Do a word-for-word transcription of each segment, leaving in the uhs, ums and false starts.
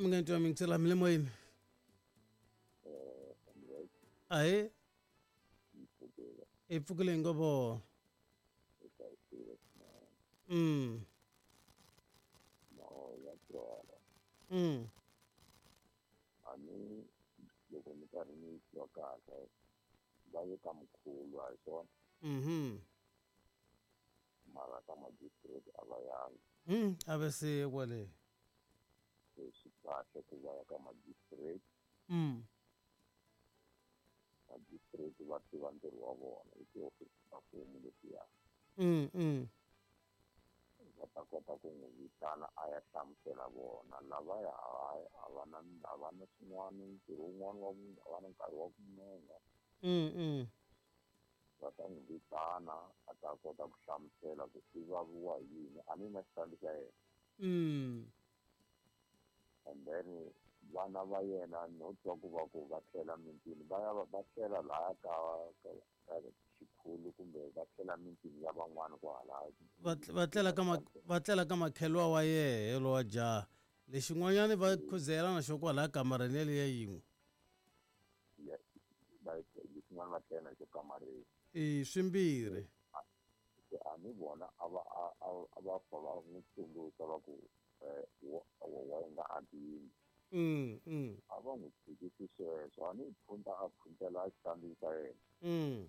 Mi nga twa mingisela mi le moyeni. Ahe. I pfukile ngopfu. Mm. Mm. Ani loko ni karhi ni twa kahle va ye ka mkhulu a hi swona. Mhm. Mara ka magistrate a va yangi. Mm, a va se kwale. Swi kahle ku va ya ka magistrate. Mm. Magistrate va tiva ntirho wa vona i tihofisi ta mfumo letiya. Mm, mm. Va ta kota ku n'wi vitana a ya hlamusela vona lavaya a va na a va na swin'wana ntirho wun'wana wa a va na nkarhi wa ku nonga. Mm, mm. Va ta n'wi vitana a ta kota ku hlamusela ku i vaviwa hi yini a ni na xitandi xa yena. Mm. And then vana va yena no twa ku va ku va tlhela mintini va ya va tlhela lahaya ka ka xikhulu kumbe va tlhela mintini ya van'wana kwahala va tlela ka va tlela ka makhelwa wa yehe lowa jaha lexin'wanyana va khuzela na xo kwalaya kamareni yaliya yin'we lexin'wana va tlela na xo kamareni i swimbirhi se a ni vona a va a va fa va n'wi tsundzuxa va ku wa nga aki yindlu. Mm, mm. A va n'wi tshikisi sweswo a ni phunta a phuntela xitandi xa yena. Mm.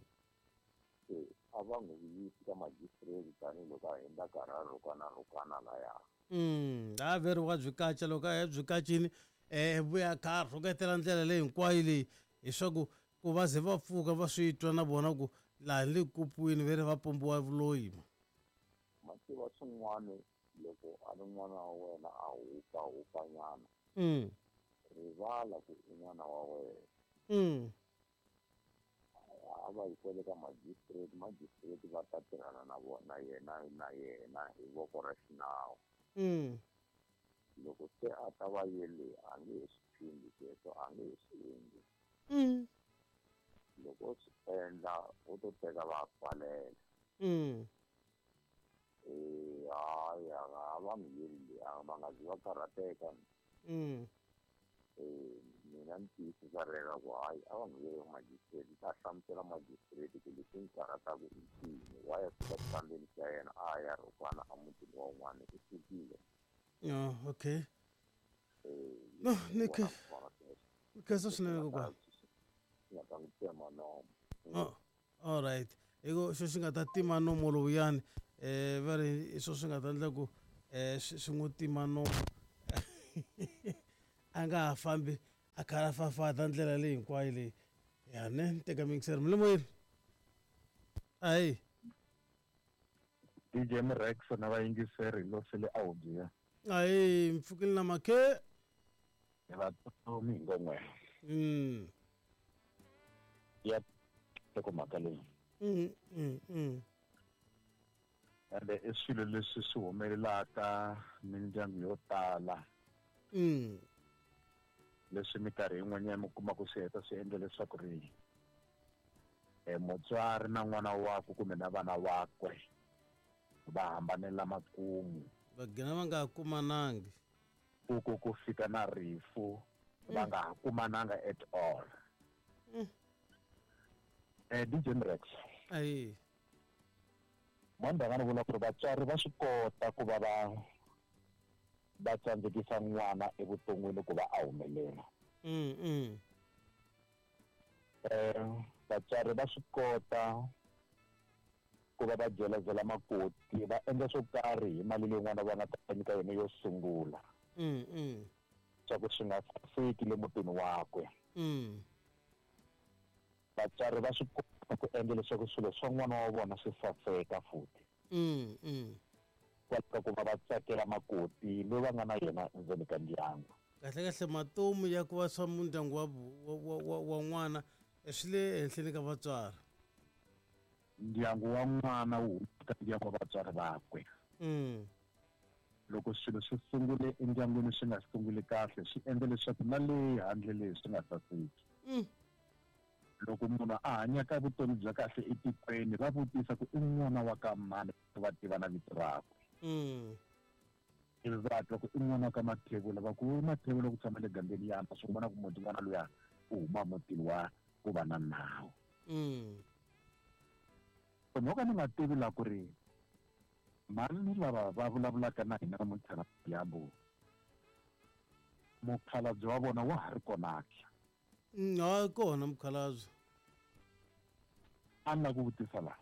Se a va n'wi yisi ka magistrate tanihiloko a hundza karhi a rhukana rhukana laya. Mm, a veri wa byi kaca loko a ya byi kacini eh vuya kha a rhuketela ndlela leyi hinkwayo leyi hiswaku ku va ze va pfuka va swi twa na vona ku laha ni le kupuwini ve ri va pombiwa vuloyi. Ma tiva swin'wana loko a ri n'wana wa wena a hupa hupanyana. Mm. Rivala ku i n'wana wa wena. Mm. A va yi kwele ka magistrate, magistrate va ta tirhana na vona yena na yena hi voko ra xinawu. Mm. Loko se a ta va yele a nge he swi phindi sweswo a nge he swi endli. Mm. Loko swi endla u to teka va pfalela. Mm. Eh hayi a va n'wi yeli leyi va nga zi va karhateka. Mm. Eh mina ni tiyisisa rero ku hayi a va n'wi yeli magistrate ta hlamusela magistrate ku leswi n'wi karhataka i ncini wa ya fika xitandini xa yena a ya rhukana emutini wa un'wana i sukile. Oh, okay. Eh no ni khe ni khensa swinene kokwana. Nga ta n'wi tsema nomo. Oh, all right. Eko xo xi nga ta tima nomo lowuyani eh va ri swo swi nga ta endla ku eh swi n'wi tima nomo a nga ha fambi a kha a fafata ndlela leyi hinkwayo leyi ya ne teka mixer mi le moyeni. Ayi D J Mrex na vayingiseri lo sele a hubiya. Ayi mpfukile na makhe hi va tomi ngomwe. Mm. Ya teko mhaka leyi. Mm mm mm. Ende i swilo leswi swi humelelaka mindyangu yo tala. Mm. Leswi minkarhi yin'wanyana mi kuma ku swi heta swi endla leswaku ri eh mutswari na n'wana wakwe kumbe na vana vakwe va hambanela makumu. Va gina va nga kumanangi. Ku ku ku fika na rifu va nga ha kumananga at all. Mm. Eh D J Mrex. Ayi. Manda nga vula ku ri vatswari va swi kota ku va va va tsandzekisa n'wana evuton'wini ku va a humelela. Mm mm. Eh vatswari va swi kota ku va va byelazela makoti va endla swo karhi hi mali leyi n'wana va nga ta nyika yona yo sungula. Mm mm. Swa ku swi nga saseki le mutini wakwe. Mm. Vatswari va swi kota ku endla leswaku swilo swa n'wana wa vona swi saseka futhi. Mm mm. Kwalaka ku va va tsakela makoti loyi va nga na yena endzeni ka ndyangu. Kahle kahle matomu ya ku va swa mundyangu wa wa wa wa n'wana swi le henhleni ka vatswari. Ndyangu wa n'wana wu huma ka ndyangu wa vatswari vakwe. Mm. Loko swilo swi sungule endyangwini swi nga sunguli kahle swi endla leswaku na le handle leyi swi nga saseki. Mm. Loko munhu a hanyaka vutomi bya kahle etikweni va vutisa ku i n'wana wa ka mani va tiva na vito rakwe. Mm. Ivi va twa ku i n'wana ka Mathebula, va ku Mathebula ku tshama le gambeni ya swi vona ku muti n'wana luya u huma mutini wa ku va na nawu. So no ka ni nga tivi la ku ri mani lava va vulavulaka na hina namuntlha na dyambu, mukhalabye wa vona wa ha ri kona ke? Ha kona mukhalabye. A ni lava ku vutisa laha,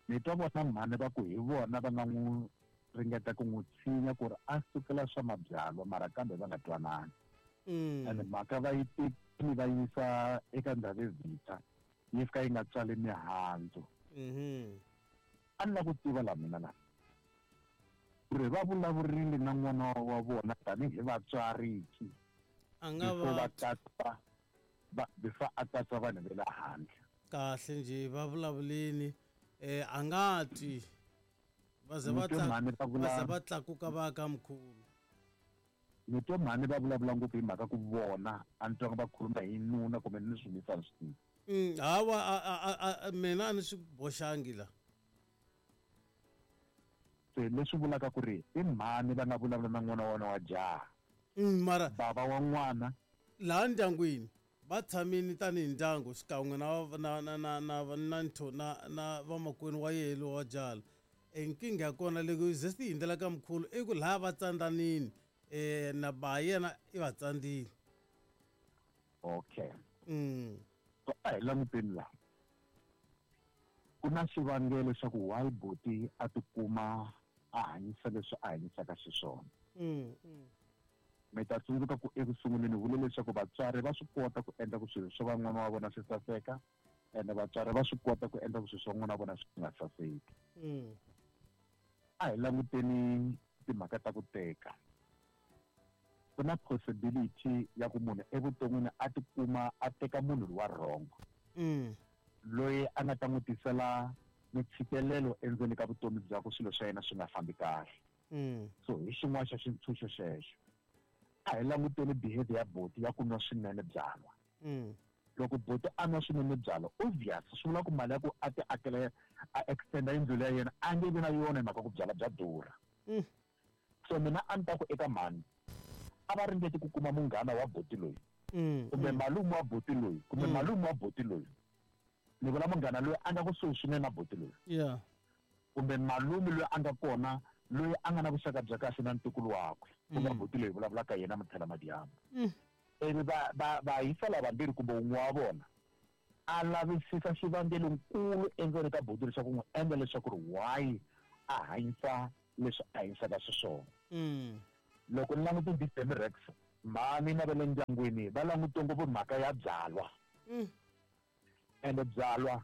ni twa vona mhani va ku hi vona va nga n'wi ringeta ku n'wi tshinya ku ri a sukela swa mabyalwa, mara kambe va nga twanani. Ene mhaka va yi tekile va yisa eka Ndhavezitha, yi fika yi nga tswali mihandzu. A ni lava ku tiva la mina la ku ri va vulavurile na n'wana wa vona tanihi vatswari ki, A nga va va katsa va before a katsa vanhu va le handle. Kahle njhe va vulavuleni, eh a nga twi va ze va va ze va tlakuka va ka mkhulu. Ni twa mhani va vulavula ngopfu hi mhaka ku vona a ni twanga va khuluma hi nuna kumbe ni swi misa swi tivi. Mm, hawa a mina a ni swi boxangi la. Se leswi vulaka ku ri i mhani va nga vulavula na n'wana wa vona wa jaha. Mm, mara baba wa n'wana laha ndyangwini va tshamile tanihi ndyangu xikan'we na na na na na na ntho na na vamakwenu wa yena lowa jaha. E nkingha ya kona loko yi ze swi hundzela ka mkhulu i ku laha va tsandhanini, eh na ba yena i va tsandzile. Okay. Mm. So a hi languteni laha, ku na xivangelo xa ku why buti a tikuma a hanyisa leswi a hanyisaka xiswona. Mm, mm. Mi ta tsundzuka ku eku sunguleni vule leswaku vatswari va swi kota ku endla ku swilo swa van'wana wa vona swi saseka, ene vatswari va swi kota ku endla ku swilo swa n'wana wa vona swi nga saseki. Mm. A hi languteni timhaka ta ku teka. Ku na possibility ya ku munhu evuton'wini a tikuma a teka munhu wa wrong. Mm. Loyi a nga ta n'wi tisela mitshikelelo endzeni ka vutomi byakwe, swilo swa yena swi nga fambi kahle. Mm. So hi xin'wana xa xintshunxo xexo. A hi languteni behavior ya buti ya ku nwa swinene byalwa. Mm. Loko buti a nwa swinene byalwa, obvious swi vula ku mali ya ku a ti akela a extenda yindlu ya yena a nge vi na yona hi mhaka ku byalwa bya durha. Mm. So mina a ni ta ku eka mhani a va ringeti ku kuma munghana wa buti loyi, Mm, kumbe mm. malume wa buti loyi, kumbe Mm. malume wa buti loyi. Ni vula munghana loyi a nga kusuhi swinene na buti loyi. Yeah. Kumbe malume loyi a nga kona, loyi a nga na vuxaka bya kahle na ntukulu wakwe, ku nga Mm. buti loyi vulavulaka yena Muthela Madiambo. Mm. Ivi va, va, va yisa lavambirhi kumbe wun'we wa vona a lavisisa xivangelonkulu endzeni ka buti leswaku n'wi endla leswaku ri why a hanyisa leswi a hanyisaka xiswona. Mm. Loko ni langute D M Rex, mhani na va le ndyangwini va langute ngopfu mhaka ya byalwa. Mm. Ende byalwa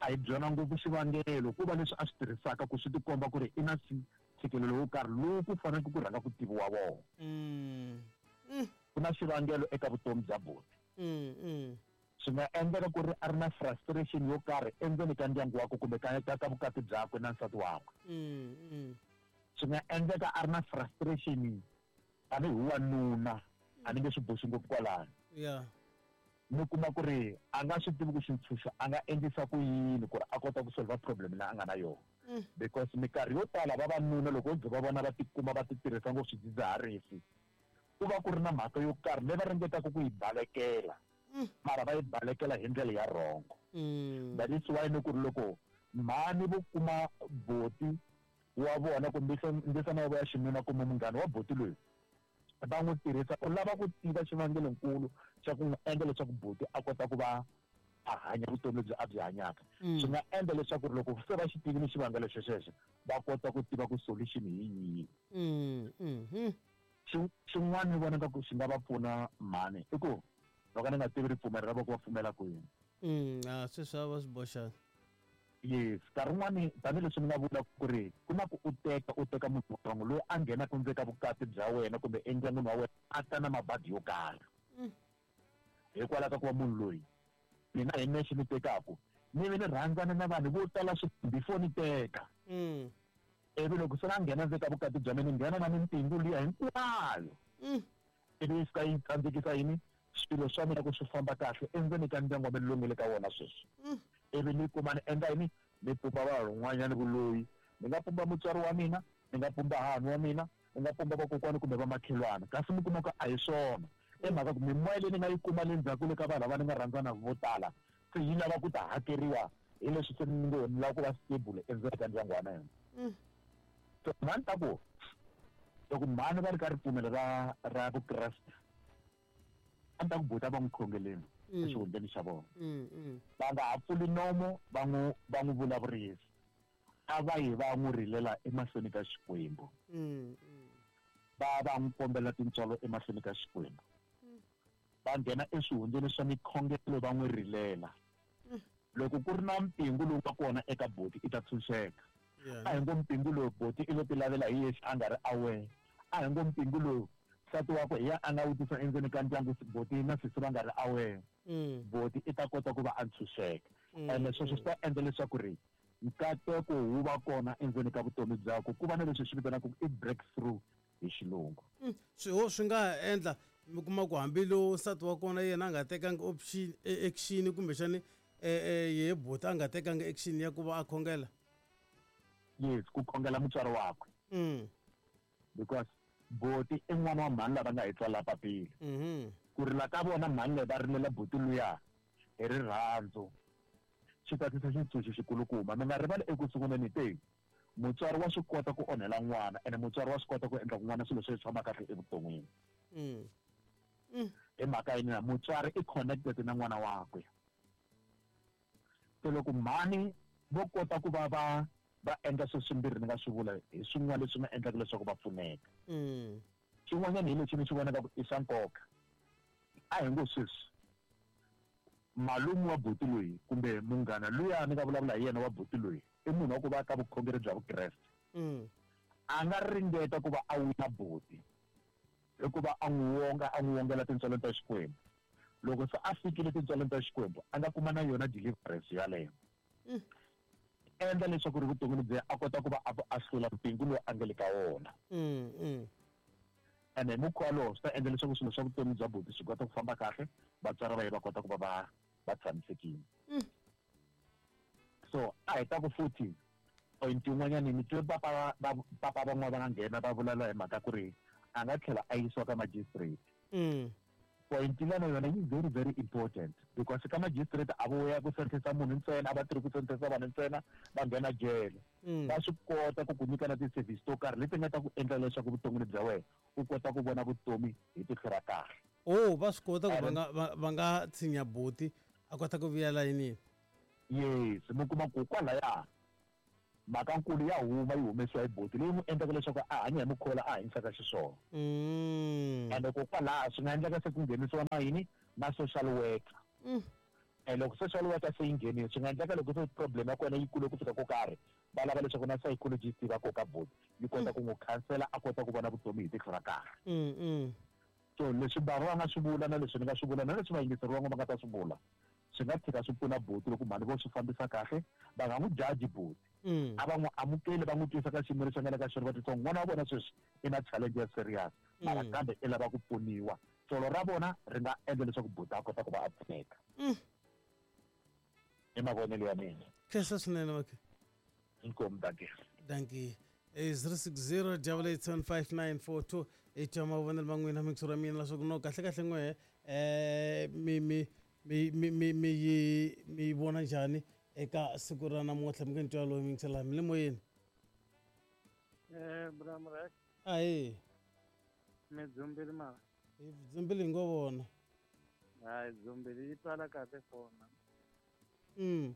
a hi byona ngopfu xivangelo, ku va leswi a swi tirhisaka ku swi tikomba ku ri i na ntshikelelo wo karhi lowu ku faneleke ku rhanga ku tiviwa wona. Mm. Mm. Ku na xivangelo eka vutomi bya buti. Mm, mm. Swi nga endleka ku ri a ri na frustration yo karhi endzeni ka ndyangu wakwe kumbe ka, ka, ka vukati byakwe na nsati wakwe. Mm, mm. Swi nga endleka a ri na frustration tanihi wanuna, a ni nge swi boxi ngopfu kwalano. Yeah. Mi kuma ku ri a nga swi tivi ku xintshunxo a nga endlisa ku yini ku ri a kota ku solve problem leyi a nga na yona. Mm. Because minkarhi yo tala vavanuna loko vo va vona va tikuma va ti tirhisa ngopfu swidzidziharisi, ku va ku ri na mhaka yo karhi leyi va ringetaka ku yi balekela, Mm. mara va yi balekela hi ndlela ya wrong. Mm. That is why ni ku ri loko mhani vo kuma buti wa vona kumbe ndzisana wa ya xinuna kumbe munghana wa buti loyi, va n'wi tirhisa u lava ku tiva xivangelonkulu xa ku n'wi endla leswaku buti a kota ku va a hanya vutomi lebyi a byi hanyaka. Mm. Swi nga endla leswaku loko se va xi tivile xivangelo xexexo, va kota ku tiva ku solution hi yihi. Mm, mm, mm. Xi-, xin'wana ni vona nga ku xi nga va pfuna mhani i ku loko ni nga tivi ripfumelo ra vona ku va pfumela kwini. Mm, a sweswi a va swi boxanga. Yes, nkarhi wun'wani tanihileswi ni nga vula ku ri ku na ku u teka, u teka munhu wrong loyi a nghenaka ndzeni ka vukati bya wena kumbe endyangwini wa wena a ta na mabadi yo karhi. Mm. Hikwalaho ka ku va munhu loyi mina hi nexe ni tekaku, ni ve ni rhandzana na vanhu vo tala swi before ni teka. Mm. Ivi loko se na nghena ndzeni ka vukati bya mina, ni nghena na mintingu liya hinkwayo. Mm. Ivi yi fika yi tsandzekisa yini? Swilo swa mina ku swi famba kahle endzeni ka ndyangu wa mina lowu nga le ka wona sweswi. Mm. Ivi ni kuma ni endla yini? Ni pumba vanhu van'wanyana vuloyi. Ni nga pumba mutswari wa mina, Ni nga pumba hahani wa mina, ni nga pumba vakokwani kumbe vamakhelwana. Kasi mi kuma ku a hi swona. I mhaka ku mimoya leyi ni nga yi kuma le ndzhaku le ka vanhu lava ni nga rhandzana vo tala se yi lava ku ta hakeriwa hi leswi se ni ngo ni lava ku va stable endzeni ka ndyangu wa mina. So mhani ta ku loko mhani va ri ka ripfumelo ra ra Vukreste a ni ta ku buta va n'wi khongeleni exihundleni xa vona. Va nga ha pfuli nomo va n'wi va n'wi vulavurisa. A va yi va n'wi rilela emahlweni ka Xikwembu. Va va n'wi kombela tintswalo emahlweni ka Xikwembu. Va nghena eswihundleni swa mikhongelo va n'wi rilela. Loko ku ri na mpingu lowu nga kona eka boti i ta tshunxeka. A hi ngo mpingu lowu boti i lo ti lavela hi yexe a nga ri aware. A hi ngo mpingu lowu nsati wakwe hi ya a nga wu tisa endzeni ka ndyangu boti na sesi va nga ri aware. Boti i ta kota ku va a ntshunxeka. Ene sweswo swi ta endla leswaku ri nkateko wu va kona endzeni ka vutomi byakwe ku va na leswi swi vitanaka i breakthrough hi xilungu. Swiho swi nga endla mi kuma ku hambi lowu nsati wa kona yena a nga tekanga option action kumbexani ye boti a nga tekanga action ya ku va a khongela. Yes, ku khongela mutswari wakwe. Because boti i n'wana wa mhani lava nga hi tswala papila. Ku rila ka vona mhani leyi va rilela boti luya hi rirhandzu xi ta tisa xintshunxo xikulukumba. Mi nga rivali eku sunguleni te mutswari wa swi kota ku onhela n'wana ene mutswari wa swi kota ku endla ku n'wana swilo swi tshama kahle evuton'wini. Hi mhaka yini na mutswari i connected na n'wana wakwe. Se loko mhani vo kota ku va va va endla swilo swimbirhi ni nga swi vula hi swin'wana leswi nga endlaka leswaku va pfuneka. Xin'wanyana hi lexi ni xi vonaka ku i swa nkoka. A hi ngo sweswi malume wa buti loyi kumbe munghana luya ni nga vulavula hi yena wa buti loyi i munhu wa ku va ka vukhongeri bya Vukreste. A nga ringeta ku va a wina buti hikuva a n'wi wonga a n'wi wongela tintswalo ta Xikwembu. Loko se a fikile tintswalo ta Xikwembu a nga kuma na yona deliverance yaleyo. Endla leswaku ri vuton'wini bya a kota ku va a hlula mpingu lowu a nga le ka wona. Ene hi mukhuva lowu swi ta endla leswaku swilo swa vutomi bya buti swi kota ku famba kahle, vatswari va ye va kota ku va va va tshamisekile. So a hi ta ku futhi point yin'wanyana ni twe papa va papa van'wana va nga nghena va vulavula hi mhaka ku ri a nga tlhela a yisiwa ka magistrate. Point lana yona yi very very important because ka magistrate a vo ya ku sentensa munhu ntsena a va tirhi ku sentensa vanhu ntsena va nghena jele. Va swi kota ku ku nyika na ti-service to karhi leti nga ta ku endla leswaku vuton'wini bya wena u kota ku vona vutomi hi tihlo ra kahle. Oh, va swi kota ku va nga va nga tshinya buti a kota ku vuya layinini. Yes, mi kuma ku kwalaya mhaka nkulu ya huma yi humesiwa hi buti leyi n'wi endlaka leswaku a hanya hi mukhuva a hanyisaka xiswona. Ende kokwalaho swi nga endleka se ku nghenisiwa na yini na social worker. And loko social worker se yi nghenile swi nga endleka loko se problem ya kona yi kule ku fika ko karhi va lava leswaku na psychologist va koka buti yi kota ku n'wi khansela a kota ku vona vutomi hi tihlo ra kahle. So leswi bava va nga swi vula na leswi ni nga swi vula na leswi vayingiseri van'wana va nga ta swi vula swi nga tshika swi pfuna buti loko mhani vo swi fambisa kahle va nga n'wi jaji buti. A va n'wi amukeli va n'wi twisa ka xiyimo lexi a nga le ka xona va titwa n'wana wa vona sweswi i na challenge ya serious mara kambe i lava ku pfuniwa. Tsolo ra vona ri nga endla leswaku buti a kota ku va a pfuneka. I mavonelo ya mina. Khensa swinene makhe. Inkomu, dankie. Dankie. zero six zero double eight seven five nine four two i twa mavonelo ma n'wina mixo ra mina leswaku no kahle kahle n'we eh mi mi mi mi mi mi yi mi vona njhani eka siku ra namuntlha mi nge ni twa loyi mi yingisela mi le moyeni. Eh bramrek. Ahi. Mi dzumbili mara. Hi dzumbili hi ngo vona. Hayi dzumbili yi twala kahle fona. Mm.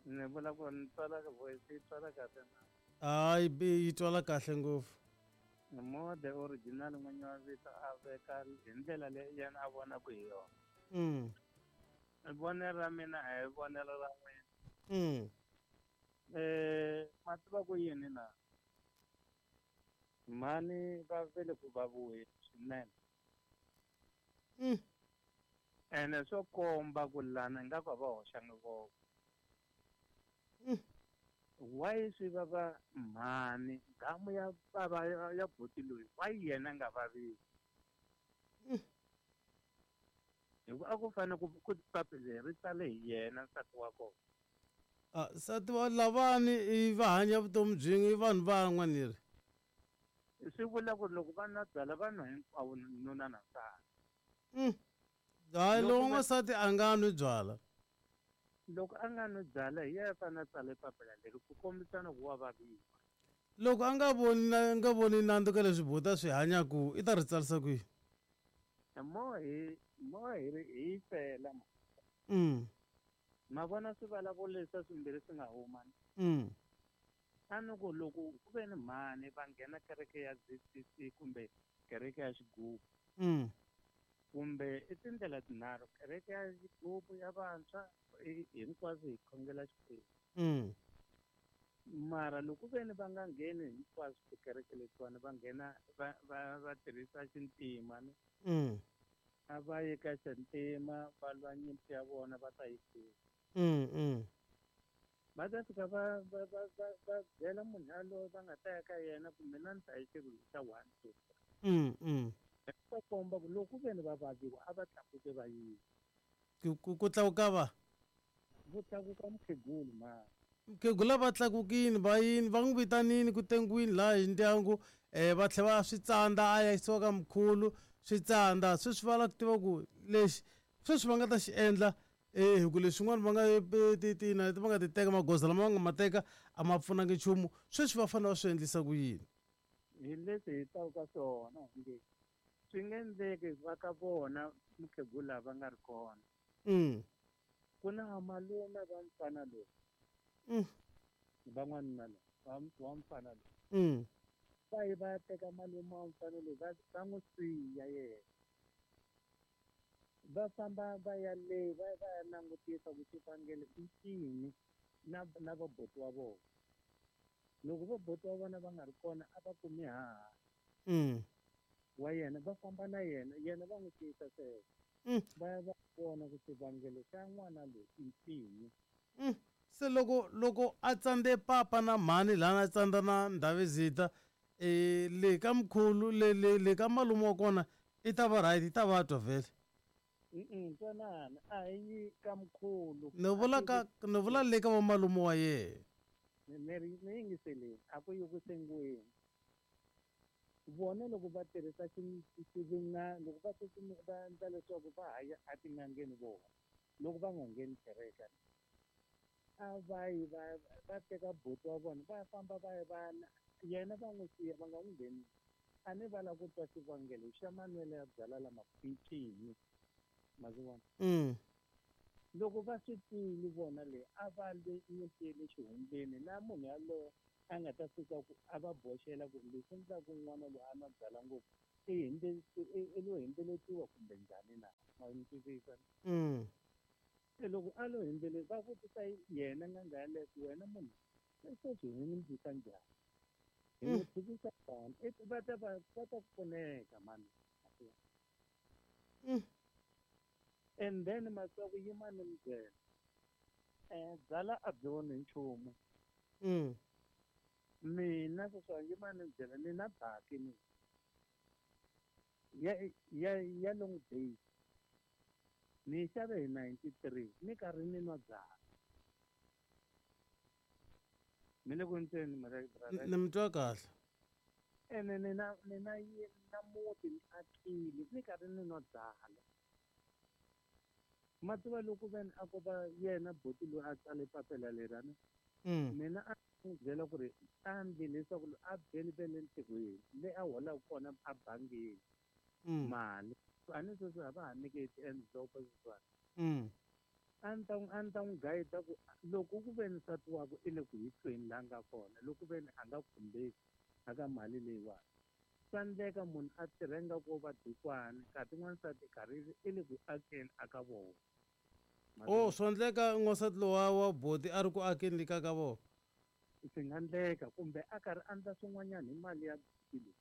Ni vula ku ni twala voice yi twala kahle na. Hayi yi twala kahle ngopfu. Mo the original n'winyi wa vito a veka hi ndlela leyi yena a vonaka hi yona. Mm. Vonelo ra mina a hi vonelo ra n'wina. Mm. Eh ma tiva ku yini na? Mhani va vele ku vaviweni swinene. Mm. Ene swo komba ku lana ingaku a va hoxanga voko. Mm. Why swi vava mhani gamu ya bava ya buti loyi why yena a nga vaviwi? Mm. Hikuva a ku fanele ku ku papila ri tsale hi yena nsati wa kona. Ah, nsati wa lavani i va hanya vutomi byin'we i vanhu van'we ni ri. Swi vula ku ri loko va nwa byalwa va nwa hinkwavo nuna na nsati. Mm. Hayi lowu n'wansati a nga nwi byalwa. Loko a nga nwi byalwa hi yena a fanele a tsale papila leri ku kombisana ku wa vaviwa. Loko a nga voni a nga voni nandzu ka leswi buti swi hanyaku i ta ri tsarisa kwihi? Mo hi mo hi ri hi fela ma. Mm. Ma vona swivulavula leswi swimbirhi swi nga huma. Mm. A ni ku loko ku ve ni mhani va nghena kereke ya Z C C kumbe kereke ya xigubu. Mm. Kumbe i tindlela tinharhu, kereke ya xigubu ya vantshwa hinkwaswo hi khongela Xikwembu. Mm. Mara loko ve ni va nga ngheni hinkwaswo tikereke letiwani va nghena va va va tirhisa xintima ni. Mm. A va ye ka xintima va lwa nyimpi ya vona va ta yi hlula. Mm, mm. Va ta fika va va va va va byela munhu yaloye va nga ta ya ka yena ku mina ni ta yi xirilo xa one two three. Mm, mm. Va komba ku loko ve ni va vaviwa a va tlakuke va yini. Ku, ku, ku tlakuka va? Ku tlakuka mukhegulu ma. Mukhegula va tlakukini va yini va n'wi vitanini ku tengwini laha hi ndyangu eh va tlhela va swi tsandza a ya yisiwa ka mkhulu swi tsandza sweswi va lava ku tiva ku lexi sweswi va nga ta xi endla eh hi ku leswin'wana va nga ti ti na va nga ti teka magoza lama va nga ma teka a ma pfunangi nchumu sweswi va fanele va swi endlisa ku yini? Hi leswi hi taka ka swona nge swi nge endleki va ka vona mukhegula va nga ri kona. Mm. Ku na malume va mfana loyi. Mm. Van'wanuna loyi, va wa mfana loyi. Mm. Va yi va ya teka malume wa mfana loyi va va n'wi siya yena. Va famba va ya le va va ya langutisa ku xivangelo i ncini na na vabuti wa vona. Loko vabuti wa vona va nga ri kona a va kumi haha. Mm. Wa yena va famba na yena, yena va n'wi tiyisa sweswo. Mm. Va ya va vona ku xivangelo xa n'wana loyi i ncini. Mm. Se loko loko a tsandze papa na mhani lana a tsandza na Ndhavezitha eh le ka mkhulu le le le ka malume wa kona i ta va right i ta va twa vhele. Mm twanana a hi yi ka mkhulu. Ni vula ka ni vula le ka va malume wa yena. Ni ri ni yingiseleni a ku yi ku sengiweni. Vona loko va tirhisa xivinga loko va va endla leswaku va ha ya etin'angeni vona loko va nga ngheni kereke a va yi va va teka buti wa vona va famba va ya va yena va n'wi siya va nga n'wi nghenisi. A ni va lava ku twa xivangelo xa manwelo ya byalwa lama i ncini. Ma swi vona? Mm. Loko va swi twile vona le a va le nyimpi le xihundleni na munhu yaloye a nga ta fika ku a va boxela ku leswi endlaka n'wana loyi a nwa byalwa ngopfu i hindze i lo hindzeletiwa kumbe njhani na ma ni twisisa? Mm. Se loko a lo hindzele va vutisa yena n'anga yaleyo ku wena munhu sweswi hi n'wi endlisa njhani? Hi n'wi tshikisa njhani? Va ta va va ta pfuneka mani. Mm. And then masiku ku yima ni mi byela eh byalwa a byi onhi nchumu. Mm. Mina sweswi yima ni mi byela ni na baki ni ya ya ya long day ni xave hi ninety-three ni karhi ni nwa byalwa. Mi le ku ntseni brother? Ni mi twa kahle. Ene ni na ni na na muti ni akile ni karhi ni nwa byalwa. Ma tiva loko ve ni a ko va yena buti loyi a tsale papila leriyani Mm. mina a n'wi byela ku ri a endli leswaku a byeli ve le ntirhweni le a holaka kona a bangini Mm. mali a ni sweswi a va ha nyiki ti-envelope sweswiwani. Mm. A ni ta n'wi a ni ta n'wi guide ku loko ku ve ni nsati wakwe i le ku hi tweni laha nga kona loko ve ni a nga khumbeki aka mali leyiwani swa endleka munhu a tirha ingaku wo va dikwani kasi n'wansati karhi i le ku akeni aka vona. Oh swa endleka n'wansati lowa wa boti a ri ku akeni ka ka vona. Swi nga endleka kumbe a karhi a endla swin'wanyana hi mali ya boti leyi.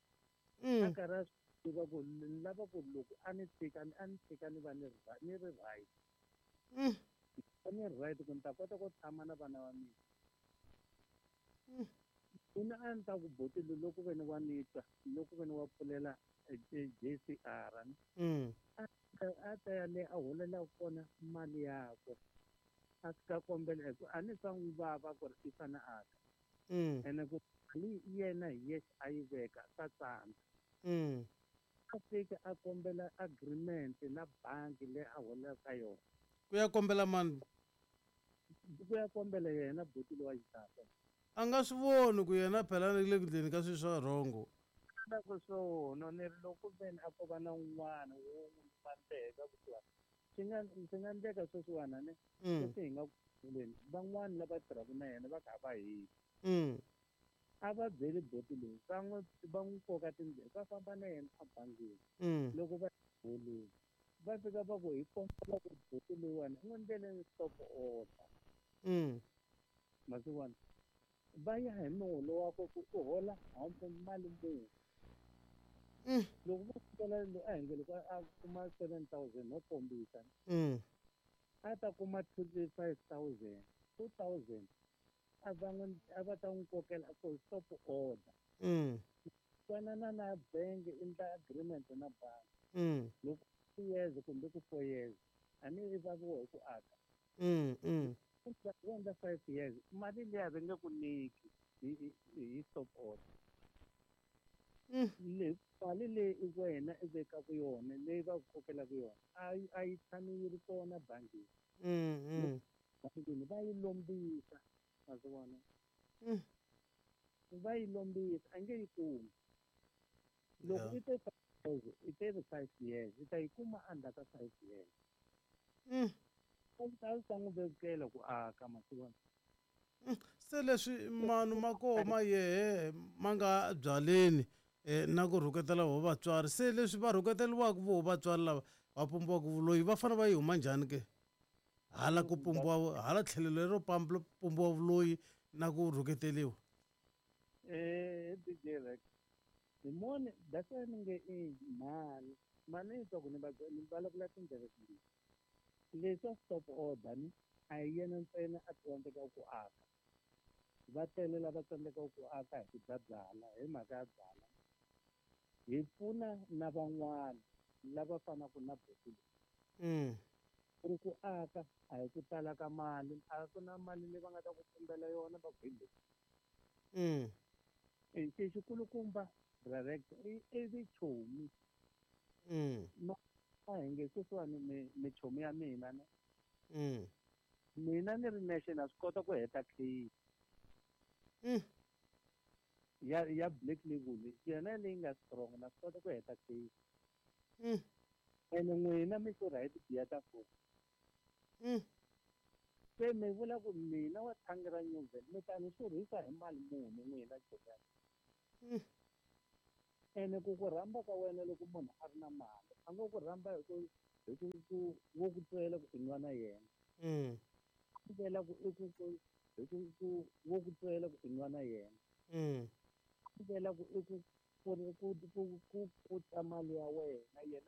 Mm. A karhi a swi tiva ku ni lava ku loko a ni tshika a ni tshika ni va ni ri ni ri right. Mm. Ni ri right ku ni ta kota ku tshama na vana va mina. Mm. Mina a ni ta ku boti loyi loko ve ni wa ni twa loko ve ni wa pfulela J C R ni. Mm. A a ta ya le a holelaka kona mali yakwe a fika kombela hi ku a ni swa n'wi vava ku ri i fane a ta. Mm. Ene ku Mali yena hi yexe a yi veka swa tsandza. Mm. A fika a kombela agreement na bangi leyi a holelaka ka yona. Ku ya kombela mani? Ku ya kombela yena buti lowa xitata. A nga swi voni ku yena phela le ku endleni ka swilo swa wrong. Na ku swona ni ri loko veni a ko va na un'wana wo n'wi mandleka kusuhani. Swi nga swi nga endleka sweswiwani ne Mm. sweswi hi nga kuleni van'wani lava tirhaka na yena va kha va hisa. Mm. A va byeli buti loyi va n'wi va n'wi koka tindleve va famba na yena ebangini. Mm. Loko va holeni va fika va ku hi kombela ku buti loyiwani u n'wi endleleni stop order. Mm. Masiwana va ya hi muholo wakwe ku u hola hambi mali muni. Mm. Loko va fikela a hi nge loko a kuma seven thousand no kombisa. Mm. A ta kuma twenty five thousand, two thousand a va n'wi a va ta n'wi kokela for stop order. Mm. Twanana na bank endla agreement na bangi. Mm. Loko two years kumbe ku four years a ni i vaviwa hi ku aka. Mm. Mm. Va endla five years mali liya va nge ku nyiki hi hi hi stop order. Mm. Le mali leyi i wena i vekaka yona leyi va ku kokelaka yona a yi a yi tshami yi ri kona bangini. Mm. Mm. Bangini va yi lombisa ma swi vona. Mm. Va yi lombisa a nge yi kumi. Loko Yeah. i te five years i te ri five years i ta yi kuma endzhaku ka five years. Mm. A swi ta swi ta n'wi vevukela ku aka ma swi vona. Mm. Se leswi manu ma koho ma yehe ma nga byaleni eh, na ku rhuketela vo vatswari se leswi va rhuketeriwaka vo vatswari lava va pumbiwaka vuloyi va fanele va yi huma njhani ke hala ku pumbiwa hala tlhelo lero pumbiwa vuloyi na ku rhuketeliwa. Eh D J Rex hi moni that's why ni nge i mhani mhani yi twa ku ni va ni vulavula tindleve timbirhi. Leswa stop order ni a hi yena ntsena a tsandzekaka ku aka. Va tele lava tsandzekaka ku aka hi ku dya byala hi mhaka ya byala. Hi pfuna na van'wana lava fanaka na buti loyi. Mm. Ku ri ku aka a hi ku tala ka mali a ku na mali leyi va nga ta ku pumbela yona va ku hi leyi. Mm. E xi xikulukumba direct i i vichomi. Mm. Ma a hi nge sweswiwani mi michomi ya mina ne. Mm. Mina ni ri nexe na swi kota ku heta case. Mm. Ya ya black label yona leyi nga strong na swi kota ku heta case. Mm. Ene n'wina mi xurha hi tibiya ta four. Mm. Se mi vula ku mina wa thangi ra Newville mi ta ni xurhisa hi mali muni n'wina chomi ya mina. Mm. Ene ku ku rhamba ka wena loko munhu a ri na mali a ngo ku rhamba hi ku hi ku ku wo ku twela ku i nwa na yena. Mm. Ku twela ku i ku ku hi ku ku wo ku twela ku i nwa na yena. Mm. Ku twela ku i ku ku ku ku ku ku ta mali ya wena yena